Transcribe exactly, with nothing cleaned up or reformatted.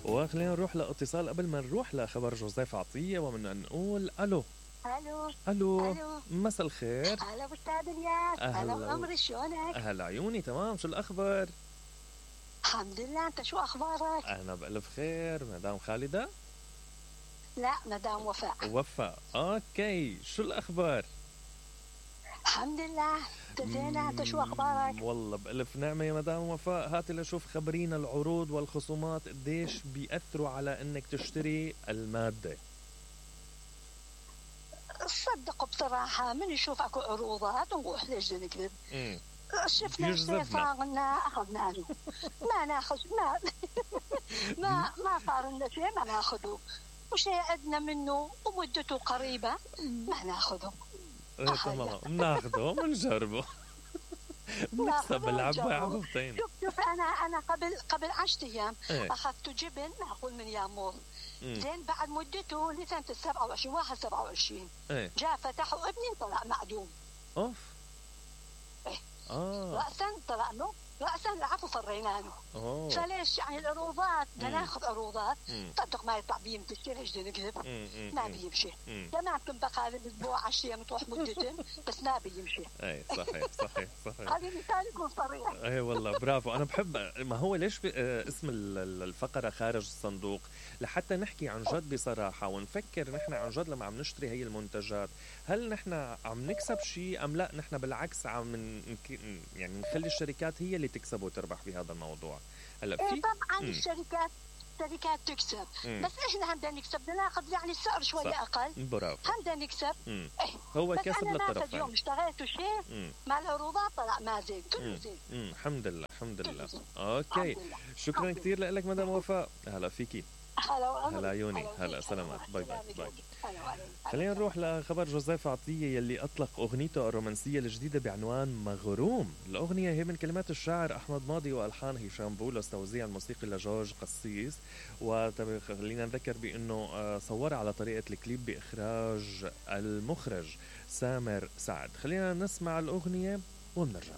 وخلينا نروح لاتصال قبل ما نروح لخبر جوزيف عطية، ومن نقول الو. الو الو الو مساء الخير. هلا ابو استاذ الياس، هلا عمري، شلونك؟ اهلا عيوني، تمام. شو الاخبار؟ الحمد لله، انت شو اخبارك؟ انا بالف خير. مدام خالدة؟ لا، مدام وفاء. وفاء، اوكي. شو الاخبار؟ الحمد لله، انت زينة، انت شو اخبارك؟ والله بألف نعمة يا مدام وفاء. هاتي لشوف، خبرينا العروض والخصومات قديش بيأثروا على انك تشتري المادة. صدق بصراحة من يشوف اكو عروضات ونروح، ليش نكذب؟ شفنا يجذبنا. الشيء صار لنا اخذنا له، ما ناخذ ما ما ما صار لنا شيء ما ناخذه، وشيء عندنا منه ومدته قريبة ما ناخذه. ايه تمام، بناخده وبنجربه. بنكسب العبة عبوتين. شوف شوف انا انا قبل قبل عشرة ايام ايه. اخذت جبن معقول من يامور، زين بعد مدته لسنة السبعة وعشرين واحد سبعة وعشرين ايه. جاء فتحوا ابني طلع معدوم. اوف. ايه. اه رأسا طلع له، رأسا العفو فرينا له. اوه. فليش يعني العروضات بدنا ناخذ عروضات، مم. صدق ما يطلع بيمشي، ليش بدنا نكذب؟ ما بيمشي. مم. تمام، كم بقى الاسبوع عشرة ايام تروح مدتين بس ما بيمشي. ايه صحيح صحيح صحيح. هذه مثال يكون صريح. ايه والله برافو. انا بحب، ما هو ليش ب... آه، اسم ال- ال- الفقرة خارج الصندوق، لحتى نحكي عن جد بصراحة ونفكر نحن عن جد لما عم نشتري هي المنتجات، هل نحن عم نكسب شيء ام لا؟ نحن بالعكس عم نك... يعني نخلي الشركات هي اللي تكسب وتربح بهذا الموضوع. هلا في إيه طبعا مم. الشركات الشركات تكسب، مم. بس احنا هم بدنا نكسب، بدنا ناخذ يعني السعر شويه صح. اقل، برافو. هم بدنا نكسب. مم. إيه. هو بس كسب انا ناخذ للطرفين. يوم اشتريت شيء مم. مع العروضات طلع ما زين، كله مم. زين. مم. الحمد لله الحمد لله. الحمد اوكي. لله. شكرا الحمد كثير لك مدام وفاء. هلا فيكي. هلا وعمري. هلا عيوني. هلا هلا وفيك. سلامات. هلا باي باي وسلامة باي. جوزي. هلا وعليك. خلينا نروح لخبر جوزيف عطية يلي أطلق أغنيته الرومانسية الجديدة بعنوان مغروم. الأغنية هي من كلمات الشاعر أحمد ماضي وألحان هشام بولس، توزيع الموسيقي لجورج قسيس. وخلينا نذكر بأنه آه، صور على طريقة الكليب بإخراج المخرج سامر سعد. خلينا نسمع الأغنية ونرجع.